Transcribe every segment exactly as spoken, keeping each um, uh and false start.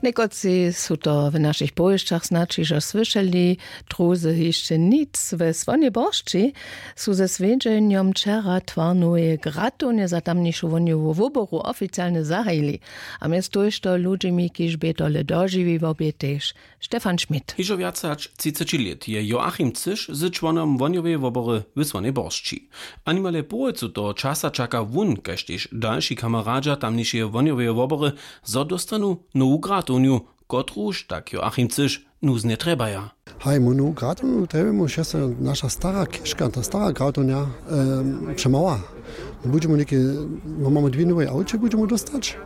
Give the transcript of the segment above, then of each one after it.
Někotři su to w našich powěsćach snadź hižo słyšeli, druzy hišće nic. We Słonjej Boršći su ze swjedźenjom wčera twarnoweje gratownje za tamnišu wohnjowu woboru oficialnje zahajili. A mjez tójšto ludźimi, kiž bě tole dožiwiło, bě tež Stefan Schmidt. Hižo wjace hač třiceći lět je Joachim Cyš z čłonom wohnjoweje wobory w Słonjej Boršći. A nimale połojcu toho časa čaka wón, kaž tež dalši kameradźa tamnišeje wohnjoweje wobory, zo dóstanu nowu gratownju, kotruž, tak Joachim Cyš, nuznje trjebaja. Haj, mu nowu gratownju trjebjemu, wšo so naša stara chěžka, ta stara gratownja, em, přemała. Budźemu něke, mamy dwě nowe awče, budźemu dóstać.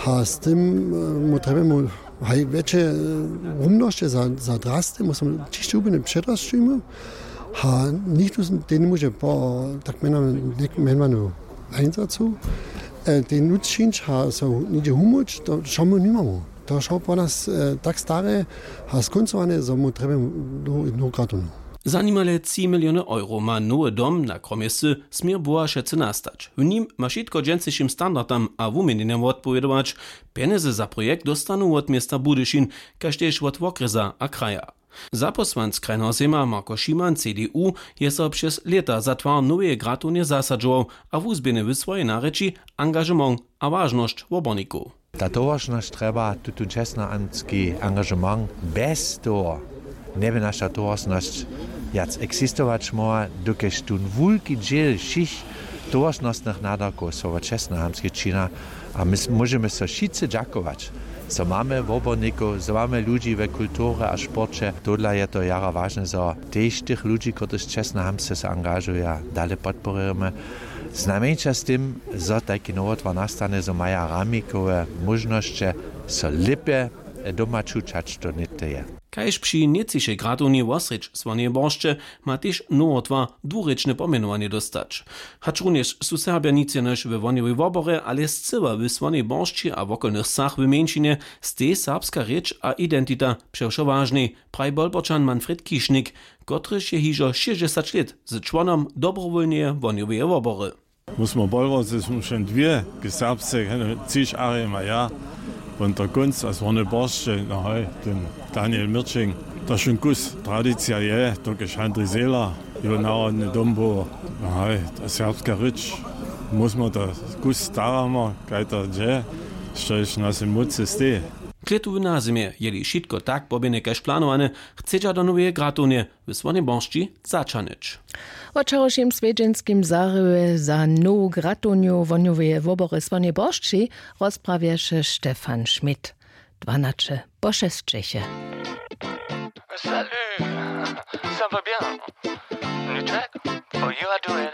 A z tym, e, mu trjebjemu, haj, wjetše, e, rumnosće za, za drasty, musimy ćišće hubjene předrasćujemy. A nichtó z-, tej njemóže po tak mjenowanym, něk-, mjenowanu einsacu, e, tej nutř čińć a so něhdźe humóć, to wšo my nimamy. To wšo po nas, e, tak stare a skóncowane, zo mu trjebjemy nowu, nowu gratownu. Za nimale tři miliony euro ma nowy dom na kromje wsy Směr Bohašecy nastać. W nim ma wšitko dźensnišim standardam a wuměnjenjam wotpowědować. Pjenjezy za projekt dóstanu wot města Budyšin, kaž tež wot wokrjesa a kraja. Zapósłanc Krajneho sejma Marko Šiman, C D U, je so přez lěta za twar noweje gratownje zasadźował a wuzběhny w swojej narěči angažement a wažnosć wobornikow. Ta towaršnosć trjeba tutón čestnohamtski angažement. Bjez toho njeby naša towaršnosć wjac eksistować móhła, dokelž tón wulki dźěl wšěch towaršnostnych nadawkow so wot čestnohamtskich čina. A my s-, móžemy so wšitcy dźakować, zo mamy wobornikow, zo mamy ludźi we kulturje a sporće. Tohodla je to jara wažne, zo tež tych ludźi, kotryž čestnohamtsce so angažuja, dale podpěrujemy. Znajmjeńša z tym, zo tajki nowotwar nastanje, zo maja ramikowe móžnosće so lěpje doma čuć, hač to něhdy je. Kaž při nětčišej gratownje wosrjedź Słonjeje Boršće ma tež nowotwar dwurěčne pomjenowanje dóstać. Hačrunjež su Serbja nic jenož we wohnjowej woborje, ale scyła w Słonjej Boršći a wokolnych wsach w mjeńšinje, stej serbska rěč a identita přewšo wažnej, praji Bolporčan Manfred Kišnik, kotryž je hižo šěsćdźesać lět z čłonom dobrowólneje wohnjoweje wobory. My smo Bolworcy, smo wšeń dwě, k serbsce, Ciš Arim a ja, won to kónc a Słonje Boršće, no haj, ten Daniel Mirčing. To wšón kus tradicija je, dokelž Handrij Zehler, jeho narodny dom był, no haj, ta serbska rěč, my smo to kus staramy, kaj to dźe, štož w našej mócy steji. Klětu w nazymje, jeli wšitko tak poběhne kaž planowane, chcedźa do noweje gratownje w Słonjej Boršći zaćahnyć. Wo wčerawšim swjedźenskim zahriwje za nowu gratownju wohnjoweje wobory Słonjej Boršći rozprawješe Stefan Schmidt. Dwanaće po šesćeće. Salut, ça va bien? Nuček? Oh, you are doing